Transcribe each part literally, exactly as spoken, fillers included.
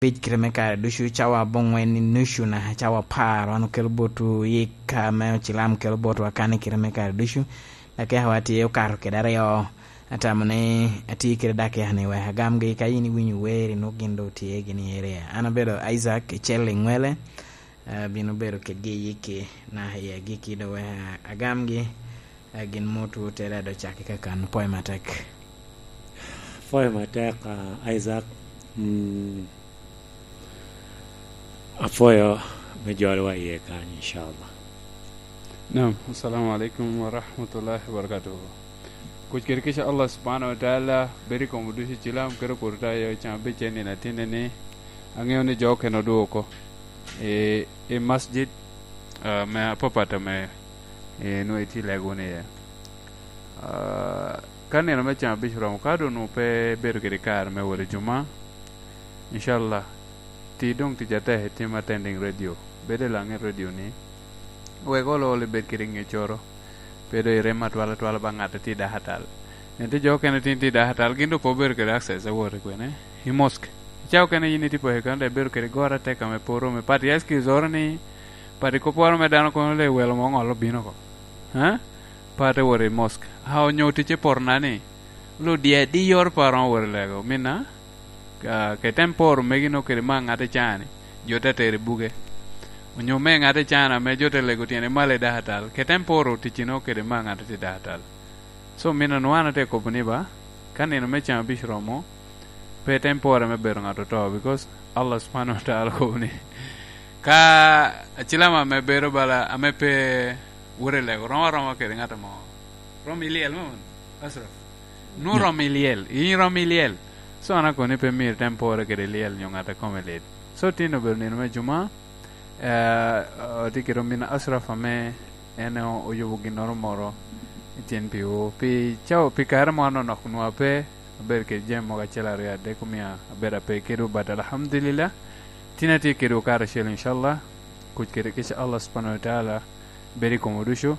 abic kite me kare ducu, cawa aboŋwen i nucu naka cawa apar, wan okelo botwu yik ame ocilam kelo botwa kan i kite me kare ducu. Dakika wa tye okato kede aryo, atamo ni atye kede dakika-ni wek agamgi, ka in iwinyo wer, inwoŋo gin doŋ tye gin i area. An abedo Isaac Icel Iŋwele, abino bedo kedgi i yikki naka i agikki doŋ wek agamgi. Eh, gin mot wot tere a doŋ cakki kakan. Pwoyo matek. Pwoyo matek, ah, Isaac. Mm. Apwoyo me jolowa iye kany, inshallah. Naam, assalamu alaikum wa rahmatullahi wa barakatuh. Kuc kede kica Allah subhanahu wa ta'ala, bed i kom oducu cilam, kede kuru ta yo can abic en nino atinne ni, aŋeo ni jo okene odwogo oko i, i masjid, ah, me apapat ame, eh, nwoŋo itye lego wunu iye. Ah, ka nino me can abic oromo, ka doŋ onwoŋo pe bedo kede kare me wot i Juma, inshallah, ti doŋ tic atek i tim attending radio. Bed i laŋet radio-ni, wek olo olo ibed kede ŋeccoro, pe doŋ irem atwal atwal ba ŋat a tye i dakatal. Ento jo okene tin tye i dakatal, gin doŋ pe obedo kede access a wot i kwene, i mosque. I cawa okene yin itye poko i kano, dok ibedo kede goro atek ame pe oromi. Pati excuse oro ni, pati kopporo me dano kono le welo mo ŋolo bino oko. Ha? Pati wot i mosque. A onyo ticce poto na ni, ludie adi yor pa romo wot i lego, minna? Ka, ka item poro megi nongo kede me aŋat i caa-ni, jo te tero i buge. Onyo me aŋat i caa-ni ame jo te lego tyene malo i dakatal, ka item poro ticci nongo kede me aŋat i dakatal. So, min onwoŋo an ate kobo ni ba, ka nino me can abic romo, pe item pore me bedo ŋat oto, because Allah subhanahu wa ta'ala okobo ni, ka acilama ame bedo bala, ame pe wot i lego, romo aroma kede ŋat mo. Romo i lyel mo, Ashraf? Nwoŋo romo i lyel, in romo i lyel. So, an akobo ni pe myero item pore kede lyel nyo ŋat a kome lit. So, tin obedo nino me Juma, eh, otye kede omin Ashraf ame en o-, oyubo ginnoro moro i tyen piwu. Pi cawa, pi kare mo anonok onwoŋo ape, abedo kede jami mogo acel aryo adek omio abedo ape kedwu, but alhamdulillah, tin atye kedwu karacel, inshallah. Kuc kede kica Allah subhanahu wa ta'ala bed i komwu ducu.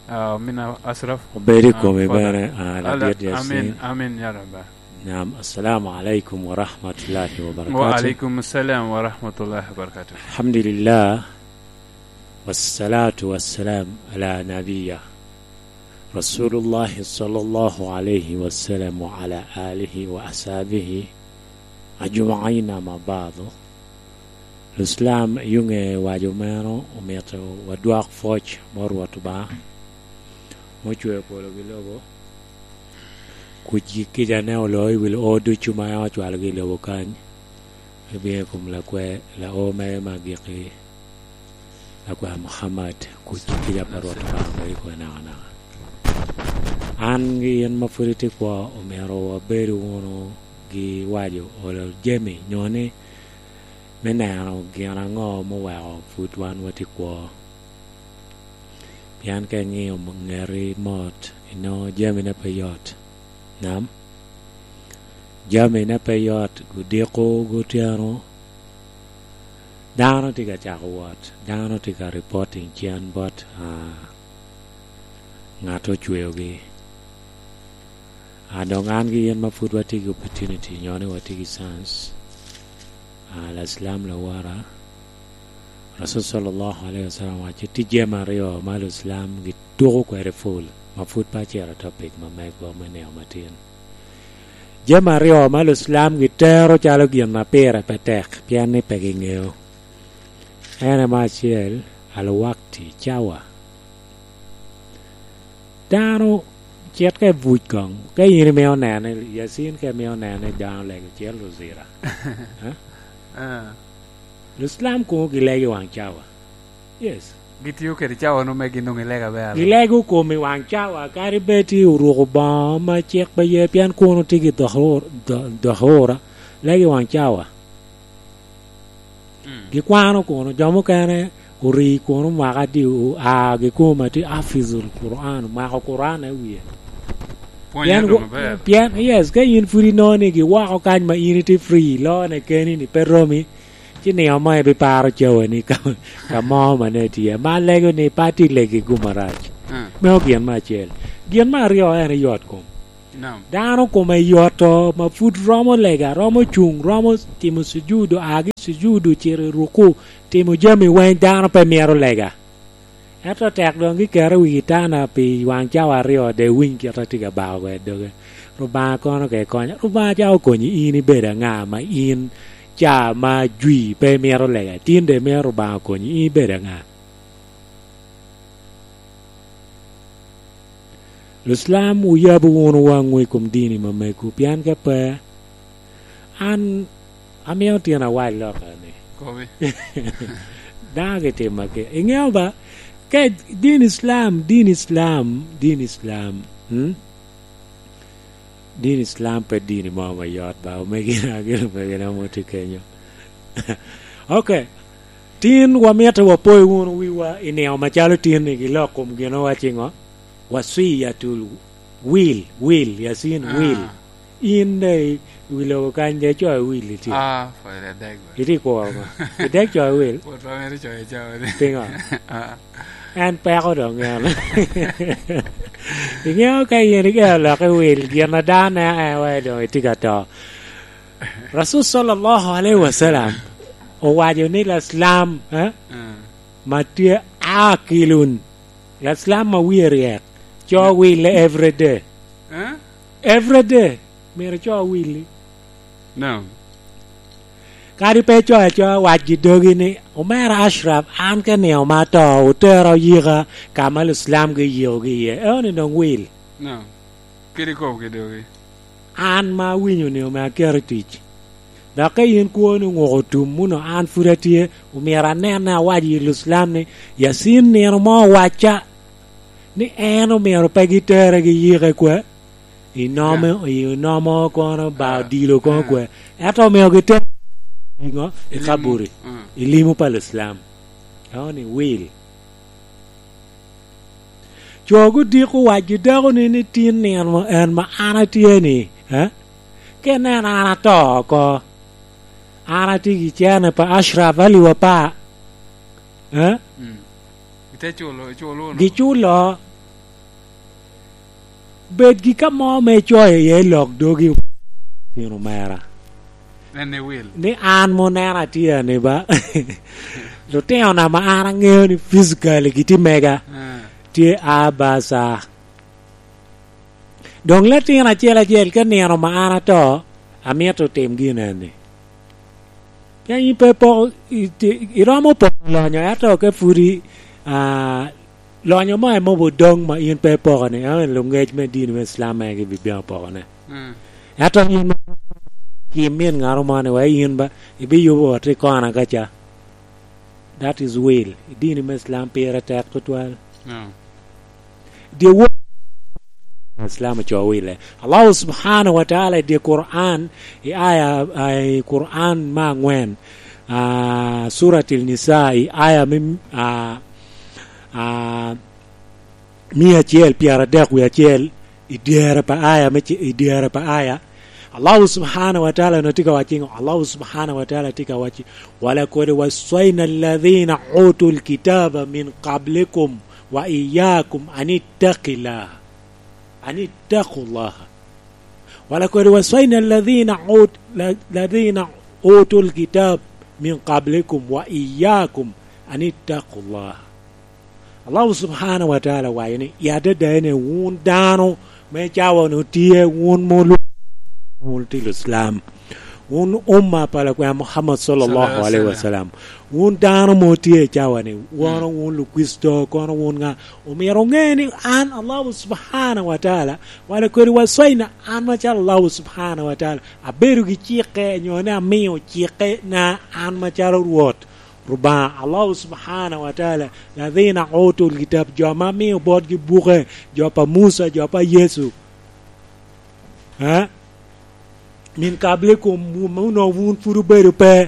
Ah, omin Ashraf. Obed i komi bene, ah, ladit Yasin. Amin, amin, ya Rabbi. Naam, assalamu alaikum wa rahmatullahi wa barakatuh. Wa alaikum assalam wa rahmatullahi wa barakatuh. Alhamdulillah, wassalatu wassalam ala nabiyya Rasulullah sallallahu alaihi wasallam wa ala alihi wa ashabihi ajma'in, amma ba'du. Luslam, yuŋe waco meno omito wadwok pwoc bot Rwot Obaŋa, ma ocweo polo ki lobo, kuc kicane olo i wi o ducu ma en ocwalogi i lobo kany, i bino i kom lakwe, lao mere me agikki, Akwar Muhammad, kuc kica pa Rwot Obaŋa bed i kome nakanaka. An gi in ma pwod itye kwo, omyero wabed wunu gi waco olo jami, nyo ni me neno gin aŋo m'oweko pwod wan watye kwo. Pien ka iŋio ŋeti mot, inongo jamine pe yot. Nam. Jamine pe yot, odiko, otyeno. Dano tye ka cako wot, dano tye ka reporting cen bot, ah, ŋat ocweogi. Ah, dok an gi in ma pwod watye ki opportunity, nyo ni watye ki chance. Ah, Laslam lawara, Rasul sallallahu alaihi wasallam waco, tye jami aryo ma Luslam gituko kwede pol, ma pwod pe acito i topic ma megwa me nino matin. Jami aryo ma Luslam gitero calo gin ma pire pe tek, pien ni pe giŋeo. En aye me acel, alwakti, cawa. Dano cit ka i buc koŋ, ka in imio nene, Yasin ka imio nene dano lego cel luzira. Ha? Ah. Luslam koŋo gilego i waŋ cawa. Yes. Gitio kede cawa no me gin doŋ gilego aber. Gilego kom i waŋ cawa, kadi bed tye oruko boŋo ma cik pe ye, pien kono tye ki dhuhur-, dhu-, dhuhura, lego i waŋ cawa. Mm. Gikwano kono, jo mukene ori kono mwaka adi, o-, a gikoma tye hafizul Quran, omako Quran i wie. Pwonye pien doŋ wo-, aber. Pien, yes, ka in pwod inongo ni giwoko kany ma in itye free, lone keni ni pe romi, ci nino mo ibiparo cawani ka, ka mo ma ne tye. Ma lego ni pe atye legi gum arac. Mm. Meno gin me acel. Gin me aryo en yot kom. Dano kome yoto, ma pud romo lega, romo cuŋ, romo timo cujudu, agi cujudu, cito i ruku, timo jami weng, dano pe mito lega. Ento tek doŋ giketo i wi kitana pi waŋ cawa aryo, de iwiny kit a tye ka bako kwede doge. Rubanga kono ka ikonya, Rubanga ca okonyi in ibedo aŋa ma in ca ma jwi pe imito lega? Tin de mito Rubanga okonyi in ibedo aŋa? Lucilam, wuyab wunu waŋwu i kom dini ma mego, pien ka pe, an amio tyen awac loka ni, kobi. Dano gitima ke. Iŋeo ba, ka din Islam, din Islam, din Islam, mm? Din Islam pe dini mo ma yot ba, omegina, gin omegina mo tye kenyo. Ok. Tin wamito wapoyo wunu wiwa i nino macalo tin-ni, gilok kom gino waciŋo? Wasiyatul, will, will, Yasin, will. In de i wi lobo kany de coyo will itye. Ah, pwod adek bene. Itye kuro ma. Idek coyo will. Pwod pe amito coyo cawa ni. Piŋo? Ah. En peko doŋ en. Iŋeo ka in igeo lok i wil, gin a dano neno en waci doŋ itye ka to. Rasul sallallahu alaihi wasallam owaco ni Laslam, eh, mm, ma tye akilun, Laslam ma wie ryek, co wille every day. Eh? Every day, myero co willi. No. Kadi pe icoyo acoya, wac gi dogi ni, "Omera Ashraf, an ka nino ma ato, otera oyika ka ma Lucilam giyikogi iye." Eo ni doŋ wil. No. Kede kop ki dogi. An ma awinyo ni ome aketo i tic. Dok ka in kwoni oŋuko tum muno, an pwod atye, omyero anen ni awac i Lucilam ni, Yasin nino mo owacca ni en omyero pe gitere giyike kwe. Inomo, inomo kono ba odilo kono kwe. Ento omio gite iŋo? I kaburi. I limo pa Lucilam. Eo ni wil. Co gudiko wacgi dako ni, ni tin nino en ma an atye ni, eh? Ka ineno an ato oko, an atye gi cene pa Ashraf Ali Wapa, eh? Mm. Ite culo, iculo wunu? Giculo. Bed gi ka mo me coyo iye lok dogi, tino mera. En ni wil. Ni an mo neno atye ani ba. Lutino na ma an aŋeo ni physically gitye mega. Ah. Tye a ba ca. Doŋ latin acel acel ka nino ma an ato, amito tim gin eni. Ka in pe ipoko, i-, ti-, iromo poko lonyo, ento ka pwod i, ah, lonyo mo emobo doŋ ma in pe ipoko ni, ah, luŋec me dini me Islam en gibibino pokone. Mm. Ento in ma, ki min ŋaro mo ni, wa in ba, ibiyubo ot i kona ka ca. That is will. I dini me Islam pire tek tutwal. No. Dyewor Islam ocoo wille. Allah subhanahu wa ta'ala i dye Quran, i aya, i Quran me aŋwen, ah, Suratil Nisa, i aya me, ah, ah, mia acel pyeradek wie acel, i dyere pa aya me ci-, i dyere pa aya, Allah subhanahu wa ta'ala no tye ka wacci ŋo? Allah subhanahu wa ta'ala tye ka wacci, "Walakad waswayna alladhina utul kitaba min qablikum wa iyyakum an ittaqillah." An ittaqullah. Walakad waswayna alladhina ut-, la-, alladhina utul kitab min qablikum wa iyyakum an ittaqullah. Allah subhanahu wa ta'ala waco ni, i adada ene wun dano me cawa-ni otye, wun mulu, wun tye Islam. Wun umma pa Lakwena Muhammad sallallahu alaihi wasallam. Wun dano mo tye i cawa-ni, wun, mm, wun Lukricito, kono wun ŋa, omyero oŋe ni an, Allah subhanahu wa ta'ala, wala kodi waswayna, an macalo Allah subhanahu wa ta'ala, abedo gi cikke, nyo ni amio cikke na an macalo Rwot Rubanga, Allah subhanahu wa ta'ala, ladhina utul kitab, jo ma amio botgi buke, jo pa Musa, jo pa Yecu. Eh? Min qablikum, wun, wun pud obedo pe.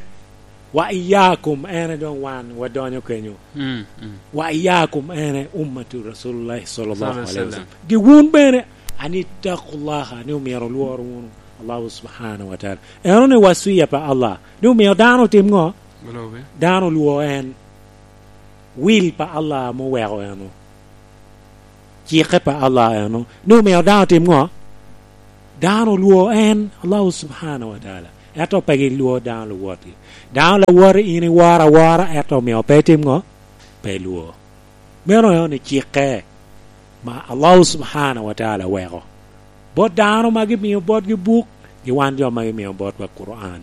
Wa iyakum, ene doŋ wan wadonyo kenyo. Mm, mm. Wa iyakum, ene ummatu Rasulullah sallallahu alaihi wasallam. Gi wun bene, an ittaqullaha, ni omyero olwor wunu Allah subhanahu wa ta'ala. Eno ni waswiya pa Allah, ni omyero dano otim ŋo? Dano olwor en. Wil pa Allah ame oweko eno. Cikke pa Allah eno. Ni omyero dano otim ŋo? Dano olwor en, Allahu subhanahu wa taala, ento pe gilwor dano luwotgi. Dano lawoti, in iworo awora, ento omio pe itim ŋo? Pe ilwor. Meno en ocikke ma Allahu subhanahu wa taala weko bot dano ma gimio botgi buk, gi wan jo ma gimio botwa Quran.